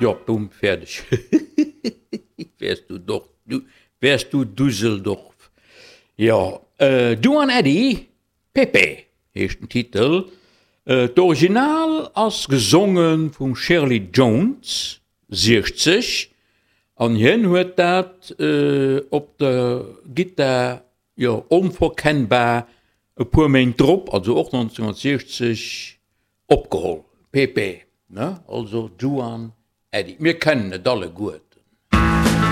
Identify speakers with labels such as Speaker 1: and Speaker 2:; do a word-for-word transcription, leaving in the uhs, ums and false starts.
Speaker 1: Jo, bumm, fäerdeg. Wärst du doch, du, wärst du Düsseldorf. Jo, Duane Eddy, Pepe heescht den Titel. D'Original ass gesonge vum Shirley Jones, siechzeg, an hien huet dat op der Gittar, jo, onverkennbar e puer Méint drop, also och nonzénhunnertsiechzeg, opgeholl. Pepe, ne, also Duane Eddy. Mir kennen et alleguer.